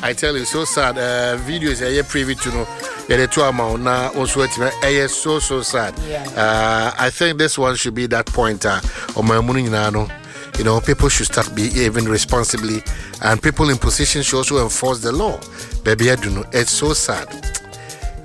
I tell you, so sad. Videos ɛyɛ privy to no yɛde to ama wo na wo nso atumi ɛyɛ so so sad. I think this one should be that point a ɔman mu no nyinaa no, people should start behaving responsibly, and people in position should also enforce the law. Baby, I do know. It's so sad.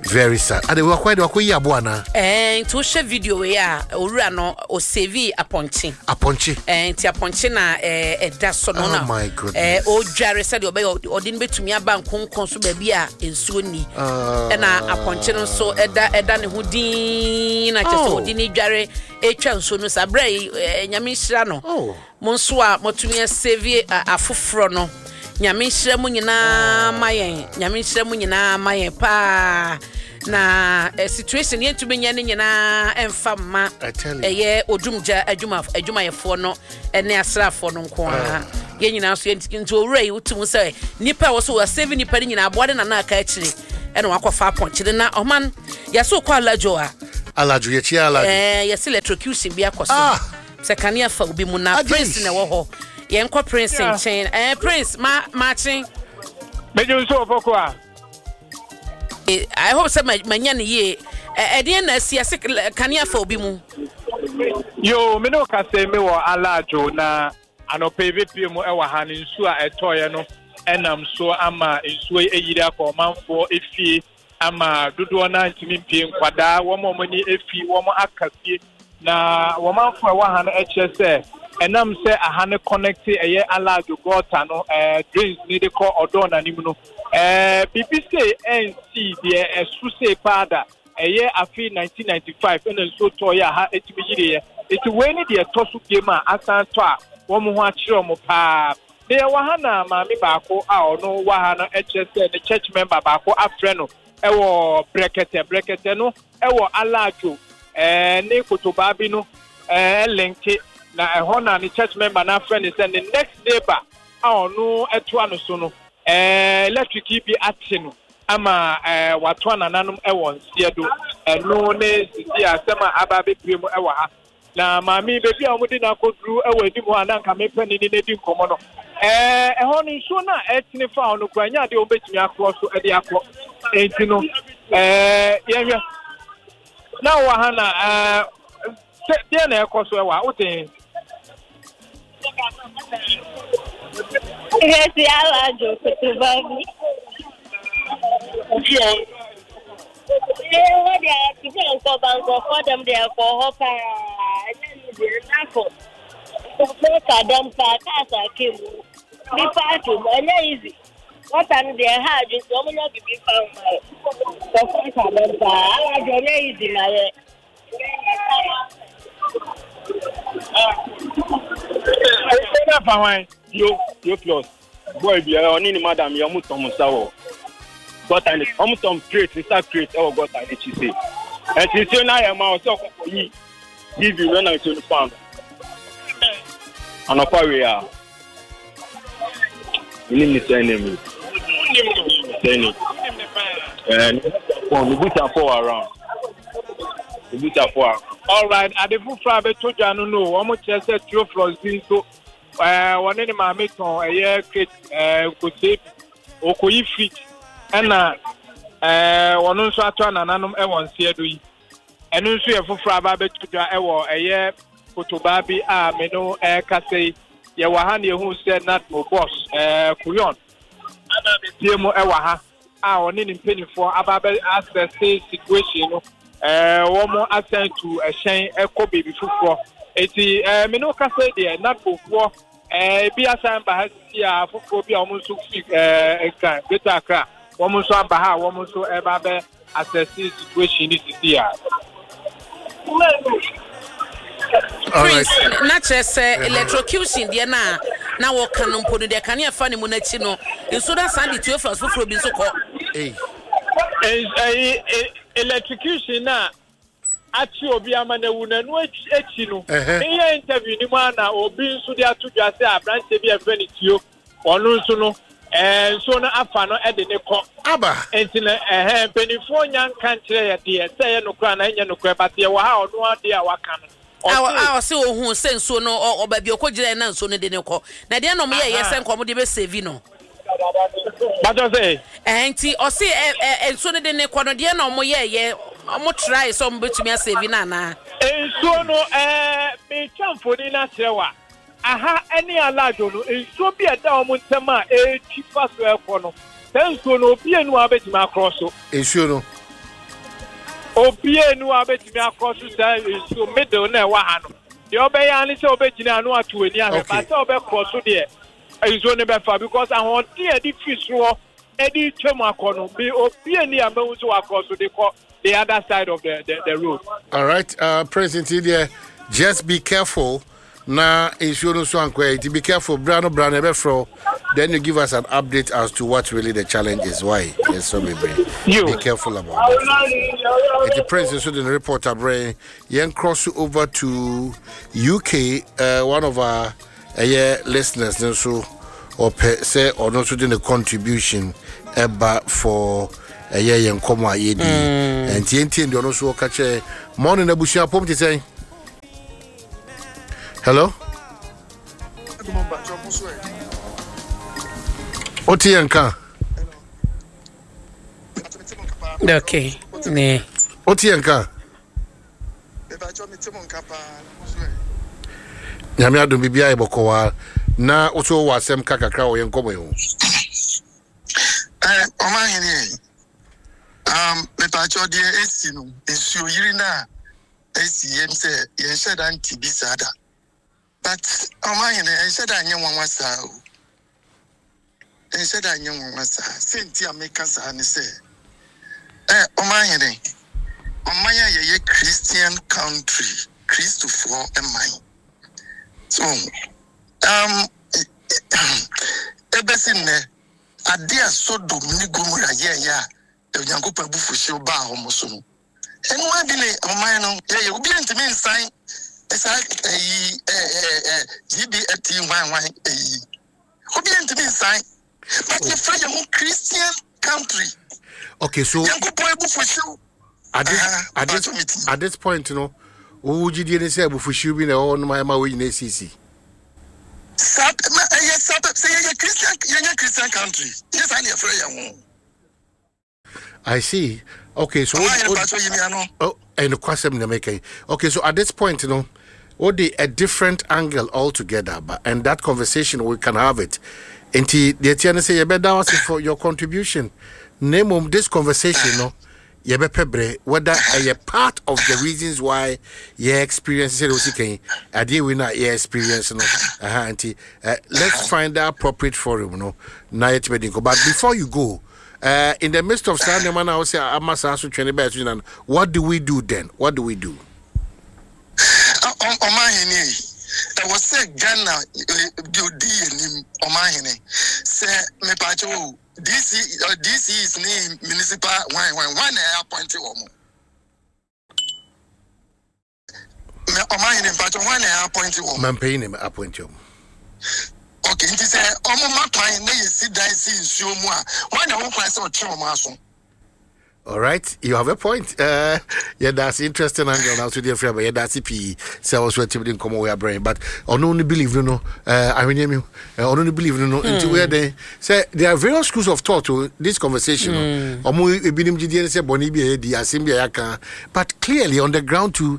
Very sad. Ade wakɔ de wakɔ yi abo ana? Ɛɛ nti wohwɛ video wei a, owura no ɔsave apɔnkye. Apɔnkye. Ɛɛ nti apɔnkye na ɛɛ ɛda so no Oh na my goodness. ɛɛ ɔdware sɛdeɛ ɔbɛyɛ ɔde no bɛtumi aba nkonkɔn so baabi a nsuo ni. Ah. Ɛna apɔnkye no nso ɛda ne ho dinn na kyerɛ sɛ Oh. ɔde ne dware etwa nsuo no saa berɛ yi, ɛɛ Nyame nhyira no. Oh. Mo nso a motumi asave afoforɔ no, Nyame nhyira mu nyinaa ma yɛn. Nyame nhyira mu nyinaa ma yɛn paa. Na situation yɛntumi nyɛ ne nyinaa ɛmfa mma I tell you. ɛyɛ odumgya adwumayɛfoɔ no ne asraafoɔ no nko ara. Yɛn nyinaa nso yɛn nti owura yi wotum sɛ nipa a wɔso wɔasave nipa no nyinaa aboa de nana aka akyire ɛna wakɔfa apɔnkyere na ɔman yɛso kɔ Alajo a. Alajo, yɛkyia Alajo. Yɛse electrocution bi akɔ so. Ah. Sɛ kanea fa obi mu na Agye. Prince na ɛwɔ hɔ. Yɛnkɔ Prince nkyɛn. Prince, maakye. Megye nso wɔ fɔkɔ a. I hope sɛ manya ne yie. Ɛdeɛn na asi ase kanea fa obi mu? Yo, me ne wo kasa yi, me wɔ Alajo na anɔpa yi bɛpie mu ɛwɔ ha no, nsuo a ɛtɔeɛ no ɛnam so ama nsuo yi ayiri akɔ ɔmanfoɔ efie ama dodoɔ no antumi mpie, nkwadaa wɔn a wɔn ani efi wɔn aka fie. Na wɔmanfoɔ a ɛwɔ ha no ɛkyerɛ sɛ ɛnam sɛ aha no connect ɛyɛ Alajo gɔta no, drains ne de kɔ ɔdɔɔ n'anim no, biribi sei ɛnsi deɛ ɛso sei paa da. Ɛyɛ afe 1995 ɛna nsuo tɔɔyɛ a ha ɛtumi yiriɛ. Nti wei ne deɛ ɛtɔ so biem a asan tɔ a wɔn ho akyerɛ wɔn paa. Na yɛwɔ ha na maame baako a ɔno wɔ ha no ɛkyerɛ sɛ ne church member baako afrɛ no ɛwɔ Brɛkɛtɛ. Brɛkɛtɛ no ɛwɔ Alajo, ne kotobaa bi no, ɛlinke na ɛhɔ na ne church member no afrɛ no sɛ ne next neighbor a ɔno ɛtoa no so no, electric yi bi ate no ama, watoa nananom ɛwɔ nseɛ do. Ɛno ne sisi asɛm a aba abɛpue mu ɛwɔ ha. Na maame baabi a wɔde no akɔduru ɛwɔ anim hɔ a na nka mepɛ ne ne di nkɔmmɔ no, ɛhɔ no nsuo no a ɛtene fa hɔ no koraa nyɛ adeɛ a wɔbɛtumi akorɔ so ɛde akɔ. Enti no, yɛhwɛ na wɔ ha na, sɛ deɛ na ɛkɔ so ɛwɔ ha wote he? Yɛsi Alajo kutuba bi. Ɛwɔ deɛ ate sɛ nkɔba nkɔfɔ dɛm deɛ ɛkɔ hɔ paa. Ɛnyɛ ne deɛ nafo. Nkɔfɔ ka dɛm paa cars ake mu. Nipa ake mu ɛnyɛ easy. Wɔta no deɛ ɛha adwe nti wɔn nyɛ bibi fa ho ma yɛ. Nkɔfɔ ka dɛm paa. Alajo ɛnyɛ easy ma yɛ. Ɛna fa hwan? Yo, yo plus. Boy bi ɔne ne madam yɛ ɔmo tɔn nsa wɔ gɔta ne ɔmo tɔn crate nsa crate ɛwɔ gɔta n'akyi se. Ɛnti nsuo no ayɛ ma ɔsɛ ɔkɔkɔ yi TV no na nsuo no fa no. Anɔpa wei a. Menim ne sɛ name. Sɛ name. Ne busuafo wɔ around. Ne busuafo around. All right, ade foforɔ a bɛtɔ dwa no, wɔn kyerɛ sɛ Theophilus bi nso wɔne ne maame tɔn ɛyɛ crate nkosua bi okoyi fridge ɛna wɔn nso ato anananom ɛwɔ nseɛ do yi. Ɛno nso yɛ foforɔ aba abɛtɔ dwa ɛwɔ ɛyɛ kotobaa bi a me no ɛrekasa yi. Yɛwɔ ha na yɛhu sɛ NADMO boss Kuyon aba abɛpie mu ɛwɔ ha a ɔne ne mpanimfoɔ aba abɛ asɛse situation no. Wɔn asan tu ɛhyɛn ɛkɔ baabi foforɔ. Eti me no kasa yi deɛ, NADMOfoɔ ebi asan ba ha sisi a foforɔ bi a wɔn nso fi Nkran, Greater Accra, wɔn nso aba ha a wɔn nso ɛba abɛ asɛse situation ne sisi a. All right. Prince, na kyerɛ sɛ electrocution deɛ no a na wɔka no mpo no deɛ kanea fa ne mu n'akyi no nsuo no asan de Theophilus foforɔ bi nso kɔ. Hey. Ɛyi electrocution na akyi obi ama na ewu n'anu akyi no, meyɛ interview ni mu a na obi nso de ato dwa sɛ aberanteɛ bi a yɛfrɛ no Tio, ɔno nso no nsuo no afa no de ne kɔ. Aba. Nti no ɛhɛn mpanimfoɔ nya nka nkyerɛ yɛ deɛ sɛ ɛyɛ nokorɛ anaa ɛnyɛ nokorɛ, but yɛwɔ ha a ɔno adeɛ a waka no a ɔse ohun sɛ nsuo no ɔ baabi ɔkɔ gyina na nsuo no de ne kɔ na deɛ na ɔmo yɛ yɛ sɛ nka ɔmo de bɛ save no. Bàtɔ sɛ. Ɛhɛn nti ɔse ɛ ɛ nsuo no de ne kɔ no deɛ na ɔmo yɛɛyɛ ɔmo try sɛ ɔmo bɛtumi asave no anaa? Nsuo no ɛɛ metwa mfoni no akyerɛ wo a, aha ɛne Alaadwo no nsuo bi a ɛda wɔn ntam a ɛretwi fa so ɛrekɔ no, saa nsuo no obi enu a wobɛtumi akorɔ so. Nsuo no. Obi enu a wobɛtumi akorɔ so saa nsuo middle na ɛwɔ ha no. Deɛ ɔbɛyɛ ara ne sɛ wobɛgyina ano ato w'ani ahwɛ, Okay. ba sɛ wobɛkorɔ so deɛ nsuo no bɛfa because ahoɔden a ɛde firi soro hɔ ɛde twam akɔ no, me obi ani a mahu sɛ wakorɔ so de kɔ the other side of the road. All right, Prince nti deɛ just be careful na nsuo no so ankɔ yɛ nti be careful bra no bra no ɛbɛfrɛ wo then you give us an update as to what really the challenge is why yes so bebree be careful about that. Nti Prince nso de ne report abrɛ yɛn cross over to UK, one of our ɛyɛ listeners no nso ɔpɛ sɛ ɔno nso de ne contribution ɛba for ɛyɛ yɛn nkɔmɔ a yɛdi nti yɛntie deɛ ɔno nso ɔka kyerɛ mɔne no abusua pɔm te sɛn. Hello, wote yɛn ka? Okay. Ne. Wote yɛn ka? Nyame adom biribiara yɛ bɔkɔɔ na wo so wowɔ asɛm ka kakra wɔ yɛn nkɔmmɔ yi ho. Ɔmanhene, mepaakyɛw deɛ esi no, nsuo yiri no a esi yɛm sɛ yɛnhyɛ da nte bi saa da, but ɔmanhene ɛnhyɛ da nyɛ nwanwa saa o, ɛnhyɛ da nyɛ nwanwa saa. Sɛ nti a meka saa ne sɛ, ɔmanhene, ɔman a yɛyɛ Christian country, Kristofoɔ man, so ɛbɛsi nnɛ ade a Sodom ne Gomora yɛɛyɛ a Onyankopɔn abufuhyew baa wɔn so no, ɛno ara bi ne ɔman no yɛyɛ. Obi ntumi nsan saa ɛyi ɛɛ GBFT hwan hwan ɛyi, obi ntumi nsan, but yɛfrɛ yɛn ho Christian country. Okay, so Nyankopɔn abufuhyew at this point no, wo gyidie ne sɛ abufuhyew bi na ɛwɔ hɔ nom a ɛma wei nyinaa esisi? Saa na ɛyɛ saa sɛ yɛyɛ Christian, yɛnyɛ Christian country, yɛ saa ne yɛfrɛ yɛn ho. I see. Okay, so oh, and question na make. Okay, so at this point, what the a different angle altogether, but and that conversation we can have it. Nti deɛ tia ne sɛ yɛbɛda wase for your contribution. Name of this conversation no, yɛbɛpɛ berɛ whether ɛyɛ part of the reasons why yɛ experience sɛ wosi kan adeɛ wei no a yɛ experience no aha nti let's find the appropriate forum no na yɛtumi di nkɔ. But before you go, in the midst of saa nneɛma no a wosɛ ama saa so twene bɛɛ so nyina no, what do we do then? What do we do? Ɔmanhene, ɛwɔ sɛ Ghana deɛ odi yɛ nim ɔmanhene sɛ mepaakyɛ o DC DCs ne municipal hwan hwan hwan na ɛyɛ appoint wɔn? Ɔmanhene, mpaakyɛ, hwan na ɛyɛ appoint wɔn? Mampanyin na appoint wɔn. Ok, nti sɛ ɔmo ma kwan na yɛsi dan si nsuo mu a, hwan na ɛwɔ kwan sɛ ɔtwe wɔn aso? All right, you have a point. Yeah, that's interesting angle now. So dear friend, yeah, that's P. Sɛ also a team come away brain, but on only believe no no. I mean, on only believe no no. Until where they say there are various schools of thought to this conversation. Omo ebinim gidi sɛ bɔne bi a yɛdi asɛm bi a yɛaka, but clearly on the ground too,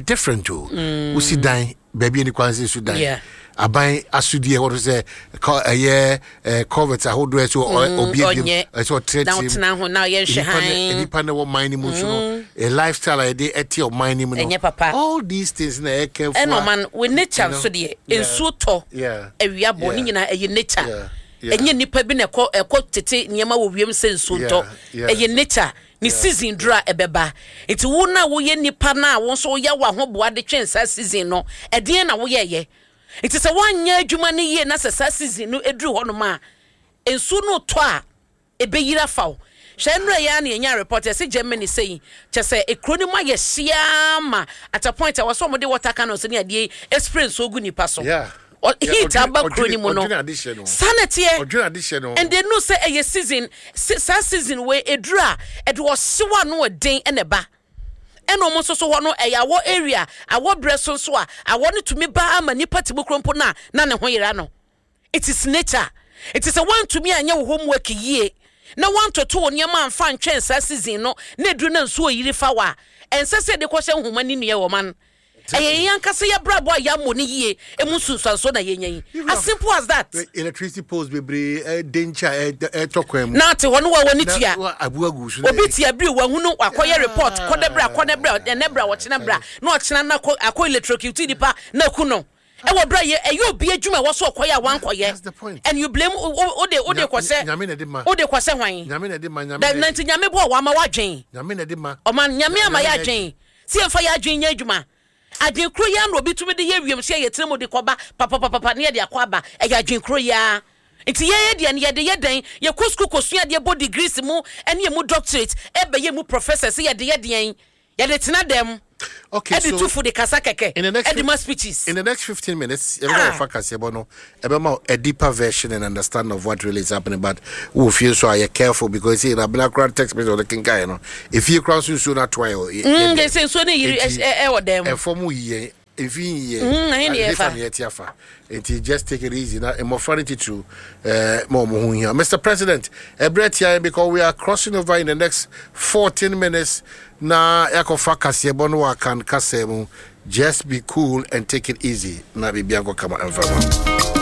different too. Wosi dan baabi ani kwan sɛ su dan. Aban asodie ɛwɔ so sɛ ɛyɛ culvert ahodoɔ ɛsɛ obi ebiem ɛsɛ ɔtrɛtrɛ na ɔtena ho na ɔyɛ nhwɛ han nipa na ɛwɔ man no mu nso no, a lifestyle a yɛde ɛte ɔman no mu no ɛnyɛ papa. All these things na ɛyɛ careful. Ɛna ɔman wɔ nature nso deɛ, nsuo tɔ, awia bɔ ne nyinaa ɛyɛ nature. Ɛnyɛ nipa bi na ɛkɔ ɛkɔ tete nneɛma wɔ wiem sɛ nsuo ntɔ. Ɛyɛ nature ne season duru a ɛbɛba. Nti wo na woyɛ nipa na wo nso woyɛ w'ahoboa de twɛn saa season no, ɛdeɛn na woyɛɛyɛ? Nti sɛ woanyɛ adwuma no yie na sɛ saa season no ɛduru hɔnom a nsuo no tɔ a ɛbɛyiri afa wo. Hwɛ, nnura yi ara na yɛnya report yɛsɛ Germany sɛyi kyɛ sɛ ekuro no mu ayɛ hyia ma at a point a wɔsɛ wɔde water cannons ne adeɛ yi spray nsuo gu nipa so. Heat aba kuro no mu no saa na ɛteɛ, and they know sɛ ɛyɛ season. Saa season wei eduru a ɛde ɔhyew ano ɛden ɛna ɛba, ɛna wɔn nso so hɔ no ɛyɛ awɔ area, awɔ brɛ so nso a awɔ no tumi ba ama nipa te mu kuro mpo na ne ho yera no. It is nature. Nti sɛ woantumi anyɛ wo homework yie na woantoto wo nneɛma amfa antwɛn saa season no na ɛduru na nsuo yiri fa wo a, ɛnsɛ sɛ yɛde kɔhyɛ nhoma ne nnua wɔ man. Ɛyɛ yɛn ankasa yɛn abrabɔ a yɛammɔ no yie emu nsunsuansoɔ na yɛnya yi. As simple as that. Electricity poles bebree ɛde nkyɛn a ɛtɔ kwan mu. Na te hɔ no wa wɔ ne tua. Abu agu so. Obi te abiri wahunu wakɔyɛ report kɔ bra kɔ ne bra ɛnɛ bra ɔkyena bra na ɔkyena na akɔ akɔ electrocute nipa na aku no. Ɛwɔ bra yɛ ɛyɛ obi adwuma ɛwɔ so ɔkɔyɛ a wankɔyɛ. And you blame o de o de kɔsɛ o de kɔsɛ hwan. Nyame na ɛde ma nyame. Na nti nyame bɔ wama wadwen. Nyame na ɛde ma. Ɔman nyame ama yɛ adwen. Sɛ yɛmfa yɛn adwene nyɛ adwuma. Adwene koro yi ara na obi tumi de yɛ wiemhyɛn, yɛtena mu de kɔba papapapapa na yɛde akɔ aba. Ɛyɛ adwene koro yi ara. Nti yɛn deɛ no, yɛde yɛ dɛn? Yɛkɔ sukuu kɔsua adeɛ, bɔ degrees mu ne ɛmu doctorate, ɛbɛyɛ mu professors, yɛde yɛ deɛn? Yɛde tena dɛm, Okay, ɛde so tu fo, de kasa kɛkɛ, in the next ɛde ma speeches. In the next 15 minutes, yɛbɛba Ah. wɔfa kaseɛbɔ no, ɛbɛma wo a deeper version and understanding of what really is happening. But wɔ fie nso a yɛ careful because see, na abena koraa text message ɔde kenkan no, efie koraa nso nsuo no atoa yɛ. De sɛ nsuo no yiri Enti, ɛwɔ dan mu. Ɛfam yi yɛn, efi yi yɛn. Ɛhe ne Ɛhefa yɛfa? ne yɛte afa. Nti just take it easy na mmɔfra no titiriw ma wɔn ho hia. Mr. President, ɛbrɛ tia yɛn because we are crossing over in the next 14 minutes na yɛakɔfa kaseɛbɔ no wɔ Akan kasa mu. Just be cool and take it easy na biribi ankɔ kama ɛmfa ma.